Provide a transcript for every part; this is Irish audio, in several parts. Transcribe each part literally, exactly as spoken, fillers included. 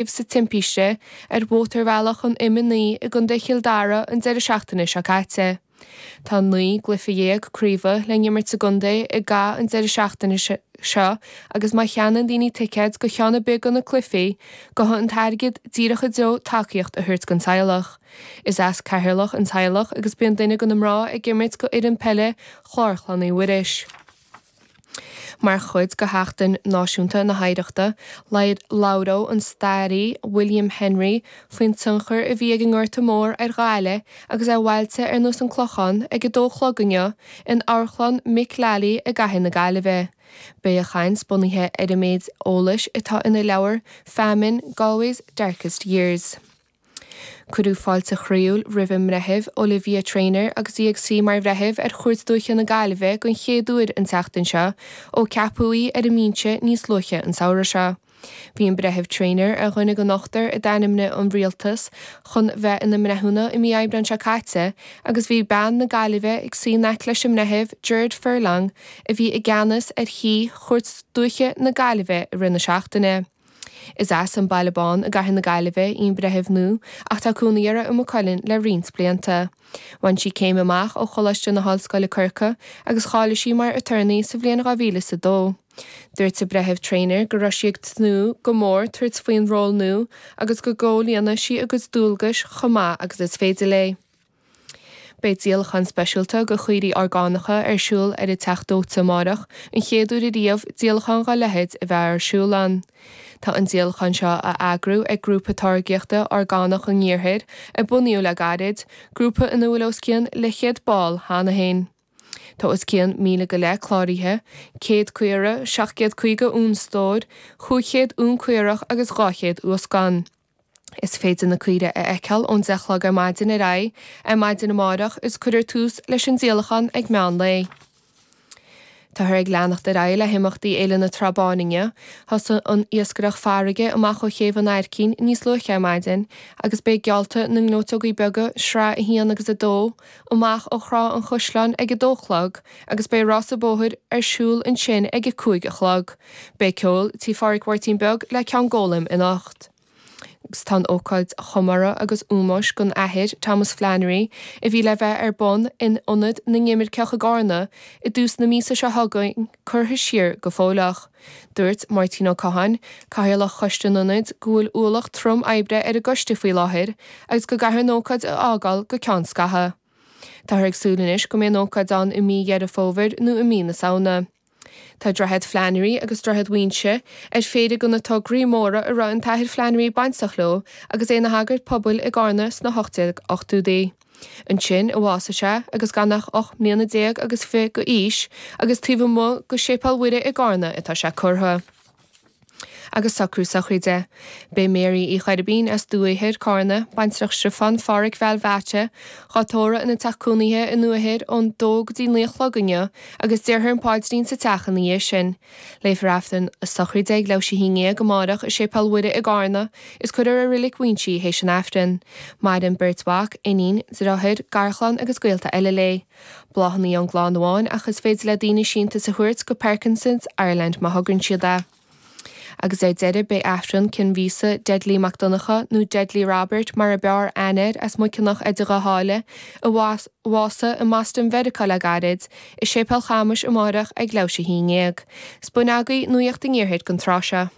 sa timpiste ar mhótarbhealach an M a naoi i gContae Chill Dara an deireadh seachtaine seo caite. Tá naoi gcluiche dhéag craoibhe le n-imirt sa gcontae i gcaitheamh an deireadh seachtaine seo agus má cheannaíonn daoine ticéid go cheann ar bith de na cluichí, gabhfaidh an t-airgead díreach i dtreo tacaíocht a thabhairt don teaghlach. Is as Ceatharlach an teaghlach agus bíonn duine de na mná ag imirt go fhoireann peile Chlár Chlann Uí Mhuiris. Mar chuid de Sheachtain Náisiúnta na hOidhreachta, labhróidh an staraí William Henry faoin tionchar a bhí ag an nGorta Mór ar Ghaillimh agus ar bhailte ar nós an Clochán ag a dó a chlog inniu in Amharclann Mick Lally i gCathair na Gaillimhe. Beidh a chaint bunaithe ar an méid eolais atá ina leabhar Famine, Galway's Darkest Years. Cuireadh fáilte chroíúil roimh an mbreitheamh Olivia Traynor agus í ag suí mar bhreitheamh ar Chúirt Dúiche na Gaillimhe den chéad uair an tseachtain seo ó ceapadh í ar an mbinse níos luaithe an samhradh seo. Bhí an breitheamh Traynor ar dhuine den ochtar a d'ainmnigh an rialtas chun bheith ina mbreithiúna i mí Aibreáin seo caite agus bhí bean na Gaillimhe ag suí in aice leis an mbreitheamh Gerard Furlong a bhí i gceannas ar shuí Chúirt Dúiche na Gaillimhe i rith na seachtaine. Is as an Baile Bán i gCathair na Gaillimhe í an breitheamh nua ach tá cónaí uirthi i Maigh Cuilinn le roinnt blianta. Bhain sí céim amach ó Choláiste na hOllscoile Corcaigh agus cháiligh sí mar aturnae sa bhliain dhá mhíle is a dó. Dúirt an Breitheamh Traynor go raibh sí ag tnúth go mór tabhairt faoin ról nua agus go gcomhlíonfaidh sí a cuid dualgais chomh maith agus is féidir léi. Beidh díolachán speisialta de chaoirigh orgánacha ar siúl ar an Teach Dóite amárach, an chéad uair ariamh díolachán dá leithéid a bheith ar siúl ann. Tá an díolachán seo á eagrú ag Grúpa Táirgíochta Orgánach an Iarthair, a bunaíodh le gairid, grúpa ina bhfuil os cionn leathchéad ball cheana féin. Tá os cionn míle go leith cláraithe, céad caora, seacht gcéad caoga uan stóir, chúig chéad uan caorach agus dhá chéad uascán. Is féidir na caoirigh a fheiceáil ón deich a chlog ar maidin ar aghaidh ar maidin amárach is cuirfear tús leis an díolachán ag meán lae. Táthar ag leanacht ar aghaidh le himeachtaí Fhéile na Trá Báine inniu. Thosaigh an iascaireacht farraige amach ó Chéibh an Aircín níos luaithe ar maidin agus beidh geallta na ngleoiteogaí beaga, sraith a haon agus a dó, amach ó Thrá an Chaisleáin ag a dó a chlog agus beidh rása bóthair ar siúl ansin ag a cúig a chlog. Beidh ceol Tí Phádraig Mháirtín Beag le Ceann Gólaim anocht. Agus tá an ócáid chomórtha agus ómóis don Athair Thomas Flannery a bhí le bheith ar bun in Ionad na nImirceach i gCarna i dtús na míosa seo chugainn curtha siar go fóilleach. Dúirt Máirtín Ó Catháin, Cathaoirleach Choiste an Ionaid, go bhfuil ualach trom oibre ar an gcoiste faoi láthair agus go gcaithfear an ócáid a fhágáil go ceann scaithimh. Táthar ag súil anois go mbeidh an ócáid ann i mí Dheireadh Fómhair nó i mí na Samhna. Tá Droichead Flannery agus Droichead Mhuinseo ar phéire de na tograí móra a raibh an tAthair Flannery bainteach leo agus é ina shagart pobail i gCarna sna hocht déag ochtóidí. Ansin a bhásaigh sé agus gan ach ocht mbliana déag agus fiche d'aois agus taobh amuigh de Séipéal Mhuire i gCarna atá sé curtha. Agus socrú sochraide. Beidh Mary Uí Choirbín as Dumha Thoir, Cárna, baintreach Stiofán Pháraic Bhéal Mheáite, dhá tórramh ina teach cónaithe i nDumha Thoir ón dó go dtí naoi a chlog inniu agus déarfar an paidrín sa teach ina dhiaidh sin. Léifear Aifreann a sochraide ag leathuair tar éis a haon déag amárach i Séipéal Mhuire i gCárna is cuirfear i Reilig Mhuinseo í théis an Aifrinn. Maireann beirt mhac, iníon, deartháir, garchlann agus gaolta eile léi. Bláthanna ón gclann amháin ach is féidir le daoine síntiús a thabhairt go Parkinson's Ireland má thograíonn siad é. Agus ar deireadh beidh Aifreann cinn mhíosa Deadly Mac Donncha, nó Deadly Robert mar a b'fhearr aithne air as Muiceanach Idir Dhá Sháile, a bhásaigh i mBoston Mheiriceá le gairid, i Séipéal Chamais amárach ag leathuair tar éis a haon déag. 'S b'in agaibh Nuacht an Iarthair don tráth seo.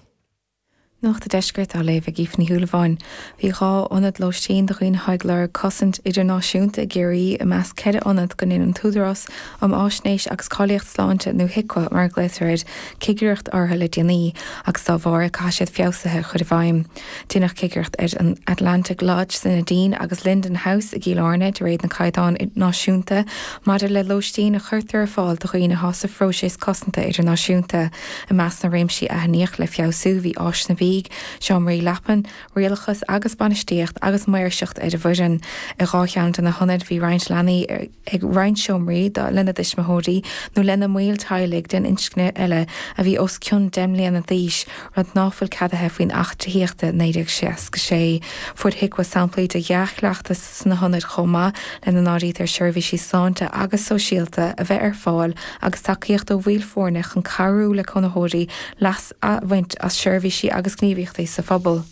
Nuacht an Deiscirt á léamh ag Aoife Ní Shúilleabháin. Bhí dhá ionad lóistín do dhaoine atá ag lorg cosaint idirnáisiúnta i gCiarraí i measc ceithre ionad go ndein an tÚdarás um Fháisnéis agus Cáilíocht Sláinte nó HIQA mar a ghlaotar air cigireacht orthu le déanaí agus dá bharr caithfidh siad feabhsuithe a chur i bhfeidhm. Deineadh cigireacht ar an Atlantic Lodge sa Neidín agus Linden House i gCill Airne de réir na caighdeán náisiúnta maidir le lóistín a chuirtear ar fáil do dhaoine atá sa phróiseas cosanta idirnáisiúnta. I measc na réimsí a aithníodh le feabhsú bhí áiseanna bídh, seomraí leapan, rialachas agus bainistíocht agus maoirseacht ar an bhfoireann. I dhá cheann de na hionaid bhí roinnt leanaí ag roinnt seomraí lena dtuismitheoirí nó lena mbaill teaghlaigh den inscne eile a bhí os cionn deich mbliana d'aois, rud ná fuil ceadaithe faoin Acht Tithíochta naoi déag seasca sé. Fuair HIQA samplaí de dhea-chleachtas sna hionaid chomh maith, lena n-áirítear seirbhísí sláinte agus sóisialta a bheith ar fáil agus tacaíocht ó bhaill foirne chun cabhrú le cónaitheoirí leas a bhaint as seirbhísí agus gníomhaíochtaí sa phobal.